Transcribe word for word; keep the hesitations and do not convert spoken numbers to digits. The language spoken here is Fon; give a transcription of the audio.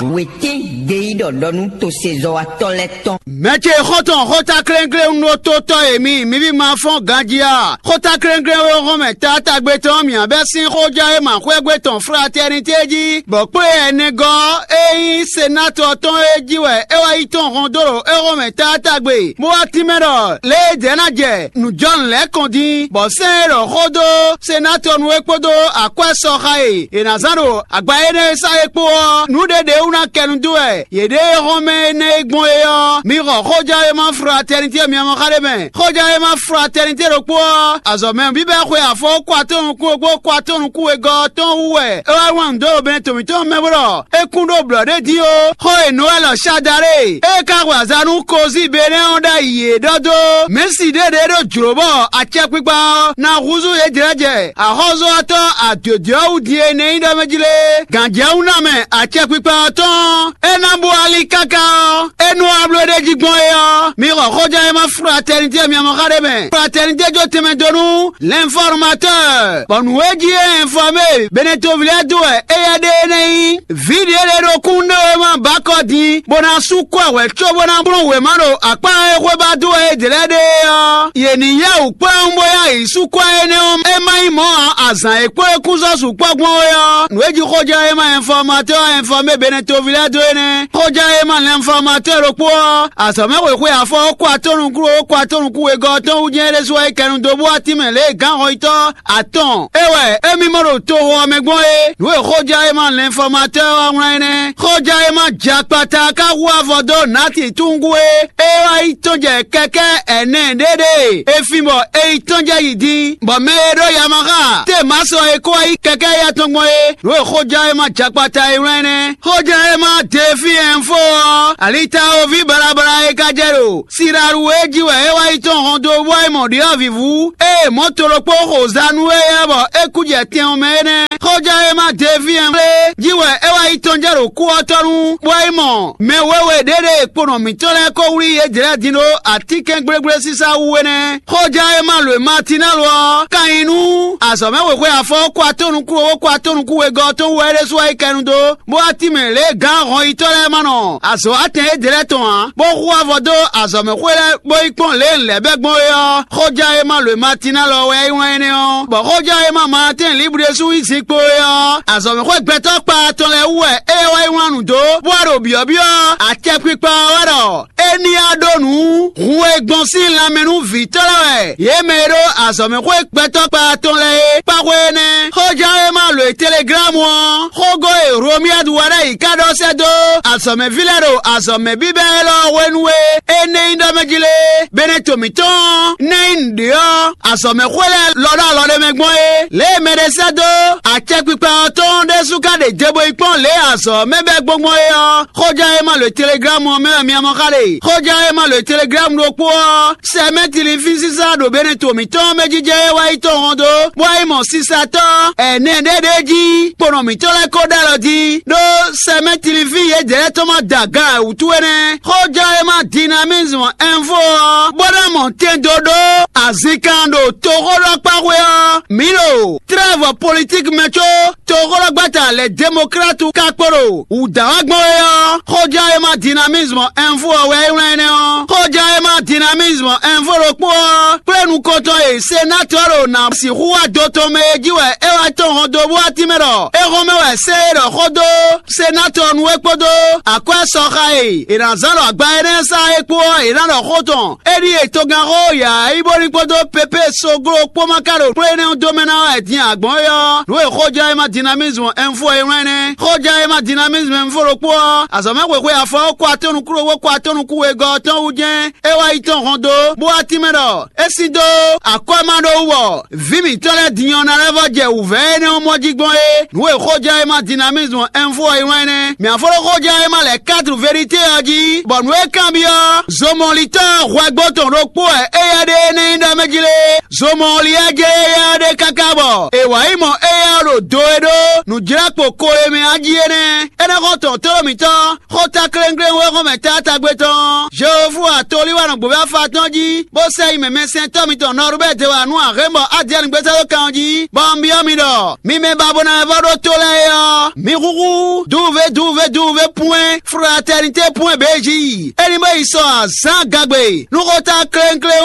Wětín gbeyíɖɔ ɖɔ nú tosezɔ́watɔ́ lɛ́ɛ tɔn. Mɛ ce xɔ́ntɔn xóta klɛ́nklɛ́n un ɖó tótɔ́ e mi, mi ví ma fɔ́n ganjí a? Xóta klɛ́nklɛ́n e hɔn mɛ taatagbe tɔn mǐ bɛ́ sín xójá e ma xwɛ́gbe tɔn fratɛ́nitɛ́ jí, bɔ kplé ɛnɛgɔ́ e nyí senátɔ tɔn é jí wɛ é wá yi tɔn hɔn dó ɖo é hɔn mɛ taatagbe, bó wá tínmɛ ɖɔ lě e jɛ̌ ná jɛ nǔjɔnǔ lɛ́ɛ kɔn dín, bɔ sɛ́n e ɖɔ xó dó senátɔnu é kpódó akwɛ́ sɔxa e è nǎ zán ɖo agba énɛ́ e sá é kpó ɔ́, nǔ ɖě ɖě wú ná kɛ nu dó wɛ yě ɖe e hɔn mɛ énɛ́ e gbɔn é ɔ́, mi xɔ xójɛ́wéma fratɛnitɛ́ miamɔxa ɖé mɛ. Xójɛ́wéma fratɛnitɛ́ ɖokpó ɔ́, azɔ̌ mɛ bíbɛ́ xwe afɔ kó atɔ́ nukún e gbó kó atɔ́ nukún wegɔ́ ɔ́ tɔn wú wɛ é wá wlán nǔ dó ɖo bɛ́nɛ tɔn mǐtɔn mɛ bó ɖɔ é kún ɖó blɔ̌ ɖé jí ó. Xó e Nowɛ́li ɔ́ Shadarée e ka hwɛ aza nú Kozíi Benɛ́ ɔ́ ɖ'ayǐ é ɖɔ dó: Mɛ̌si ɖé ɖě ɖo jlǒ bɔ acɛkpikpa ɔ́ ná húzú yědɛɛ jɛ axɔ́zɔ́watɔ́ adǒdó ɔ́ wú din e nɛ́ nyí ɖɔ mɛ jí lé. Gǎnjɛwúnamɛ acɛkpikpa ɔ́ tɔn ɔ́, é ná bú ali káká ɔ́, é nú abló ɖé jí gbɔn é ɔ́, mi xɔ xójɛ́wéma fratɛnitɛ́ miamɔxa ɖé mɛ. Fratɛnitɛ́ jó tɛnmɛ dó nú l'informateur, bɔ nǔ e jí é ɛnfɔmé Benɛtovilɛ́ dó wɛ éyɛ́ ɖe énɛ́ nyí. Vǐ ɖě lɛ́ɛ ɖo kúnɖéwéma ba kɔ din, bó ná sú kɔ hwɛ̌ cóbó ná bló wěma ɖo akpá e xwébá dó wɛ é ɖě lɛ́ɛ ɖe é ɔ́, yě ní yá wǔ kplɔ́n bó yá yǐ sú kɔ énɛ́ ɔ́, é má nyí mɔ̌ ǎ, azǎn e kpó é kún sɔ́ sukpɔ́ gbɔn é ɔ́, nǔ e jí xójɛ́wéma ɛnfɔmatɔ́ ɔ́ ɛnfɔmé Benɛtovilɛ́ dó é nɛ́. Xójɛ́wéma ɛnfɔmatɔ́ ɖokpó ɔ́, azɔ̌mɛxwé xwe afɔ ó kó atɔ́ nukún ó kó atɔ́ nukún wegɔ́ ɔ́ tɔn wú jɛ́n é ɖésú wá yi kɛnu dó bó wá tínmɛ lě e gǎn hɔnyitɔ́ atɔn é wɛ émí mɔ ɖo toxo ɔ́ mɛ gbɔn é. Nǔ e xójɛ́wéma lɛnfɔmatɔ́ ɔ́ wá wlán é nɛ́. Xójɛ́wéma jɛ akpata ká hu avɔ dó Nati túngu e é wá yi tɔ́n jɛ kɛkɛ́ ɛnɛ ɖé ɖe e fin bɔ è yi tɔ́n jɛ yi din, bɔ mɛ e ɖó yamaxa Temasɔ e kó wá yi kɛkɛ́ éyɛ́ tɔn gbɔn é. Nǔ e xójɛ́wéma jɛ akpata e wlán é nɛ́. Xójɛ́wéma Defi ɛnfo ɔ́, alitawoví balabala e ka jɛ ɖo Siralu e jí wɛ é wá yi tɔn hɔn dó bɔ é mɔ ɖyɔ̌vǐvú e mɔ̌ to ɖokpó xo za nú éyɛ́ bɔ é kú jɛ tɛn ɔ́ mɛ é nɛ́. Xójɛ́wéma Devíɛnblé jí wɛ é wá yi tɔn jɛ ɖo kú ɔ́ tɔ́ nu, bɔ é mɔ mɛ wěwe ɖě ɖe kponɔ mǐtɔn lɛ́ɛ ko wlí yědɛ́lɛ́ din ɖó atínkɛn gblégblésinsá wú é nɛ́. Xójɛ́wéma lwe Matinɛ́lu ɔ́ ka nyi nú azɔ̌mɛwexwe afɔ kó atɔ́ nukún owó kó atɔ́ nukún wegɔ́ ɔ́ tɔn wú wɛ é ɖésú wá yi kɛnu dó, bó wá tínmɛ lě e gǎn hɔnyitɔ́ lɛ́ɛ ma nɔ azɔ̌ atɛn éɖě lɛ́ɛ tɔn ǎ, bó hu avɔ dó azɔ̌mɛxwé lɛ́ɛ bó yi kpɔ́n lě e un lɛ̌ bɛ́ gbɔn é ɔ́. Xójɛ́wéma lwe Matinɛ́lu ɔ́ wɛ é wlán énɛ́ ɔ́, bɔ xójɛ́wéma Maatɛ́n Libu ɖésú yi zinkpo é ɔ́, azɔ̌mɛxwé gbɛtɔ́ kpa tɔn lɛ́ɛ wú wɛ é wá yi wlán nǔ dó, bó wá ɖo byɔ̌byɔ́ acɛkpikpa ɔ́ wɛ ɖɔ é ní wá ɖó nǔ hun e gbɔn sín lanmɛ nú vǐtɔ́ lɛ́ɛ wɛ yě mɛ e ɖó azɔ̌mɛxwé gbɛtɔ́ kpa tɔn lɛ́ɛ é kpáxwé énɛ́. Xójɛ́wéma lwe Teleglámu ɔ́, xógó e Hlomiyadu wá ɖ'ayǐ ká ɖɔ sɛ́ dó azɔ̌mɛví lɛ́ɛ ɖo azɔ̌mɛ bíbɛ́ élɔ́ hwenu e é nɛ́ nyí ɖɔ mɛ jí lé, Benɛto mǐtɔn ɔ́, nɛ́ nyí nǔɖé ɔ́, azɔ̌mɛxwé lɛ́ɛ lɔ ɖó alɔ ɖé mɛ gbɔn é. Lě e mɛɖé sɛ́ dó acɛkpikpa ɔ́ tɔn ɖésú ka ɖe jebu yi kpɔ́n lě e azɔ̌ mɛ bɛ́ gbɔngbɔn é ɔ́, xójɛ́wéma lwe Teleglámu ɔ́ mɛ wɛ mi mɔ xá ɖe. Xójɛ́wéma lwe Teleglámu ɖokpó ɔ́, sɛmɛ́ tilifínsísá ɖo Benɛto mǐtɔn mɛ jijɛ e wá yi tɔn hɔn dó, bó wá yi mɔ sisatɔ́ ɛnɛ ɖé ɖ'é jí, kponɔ mǐtɔn lɛ́ɛ ko ɖ'alɔ jí, ɖó sɛmɛ́ tilifín yědɛɛ tɔn ma da gan ɛ wútu é nɛ́. Xójɛ́wéma Dinamizmu Ɛnfo ɔ́, bó ná mɔ tɛn dó ɖó azinkan ɖo toxóɖɔkpáxwé ɔ́, mǐ ɖo trɛ́vɔ politíki mɛ có toxóɖɔgbata lɛ Demoklátu ka kpo ɖo wǔdǎwágbɔn é ɔ́, xójɛ́wéma Dinamizmu Ɛnfo ɔ́ wɛ é wlán énɛ́ ɔ́. Xójɛ́wéma Dinamizmu Ɛnfo ɖokpó ɔ́ kplé nukɔntɔn e senátɔ́ ɖo ná sixú wá do tɔn mɛ é jí wɛ é wá tɔn hɔn dó bó wá tínmɛ ɖɔ é hɔn mɛ wɛ sɛ́ é ɖɔ xó dó senátɔ́ nu é kpódó akwɛ́ sɔxa e è nǎ zán ɖo agba énɛ́ sá é kpó ɔ́, è nǎ ɖɔ xó tɔn. É ɖíe togánxó Yaayíbóli kpódó Pepée Soglo kpó ma ka ɖo kplé énɛ́ ɔ́ dó mɛ ná wɛ din agbɔ̌n é ɔ́, nǔ e xójɛ́wéma Dinamizmu Ɛnfo e wlán nɛ́. Xójɛ́wéma Dinamizmu Ɛnfo ɖokpó ɔ́, azɔ̌mɛxwexwe afɔ kó atɔ́ nukún ɖokpó kó atɔ́ nukún wegɔ́ ɔ́ tɔn wú jɛ́n é wá yi tɔn hɔn dó, bó wá tínmɛ ɖɔ é sín dó akwɛ́ ma ɖó wú bɔ vǐ mǐtɔn lɛ́ɛ din ɔ́ ná lɛ́ vɔ jɛ wǔvɛ́ énɛ́ ɔ́ mɔ jí gbɔn é. Nǔ e xójɛ́wéma Dinamizmu Ɛnfo e wlán nɛ́. Mǐ afɔ́ ɖó xójɛ́wéma lɛ̌ quatre vérité ɔ́ jí, bɔ nǔ e kanbyɔ́ zomɔlitɔ́ hwɛgbo tɔn ɖokpó wɛ éyɛ́ ɖe énɛ́ nyí ɖɔ mɛ jí lé. Zomɔliyɛ́ jɛ éyɛ́ ɖe káká bɔ è wǎ yi mɔ éyɛ́ ɖo do e ɖó nǔjlɛ́kpo ko e mɛ ɔ́ jí é nɛ́. É nɛ́ xɔ tɔn tlóló mǐtɔn xóta kléŋkléŋ wɛ xɔmɛ taatagbe tɔn. Jehofu atolí wa nɔ gbǒví afa tɔn jí, bó sɛ yi mɛmɛsɛntɔ́ mitɔn Nɔrubɛ́ɛ wa nú Ahɛ́nbɔ Adiɛni gbézá dó kan ɔ́ jí, bɔ un byɔ́ mi ɖɔ mi mɛ ba bo ná wɛ vɔ́ ɖó tó lɛ́ɛ é ɔ́, mi húhú dúvúvé dúvúvé dúvúvé pwɛ́n fratɛnitě pwɛ́n bějí. É ní bó yi sɔ azǎn gagbe nú xóta kléŋkléŋ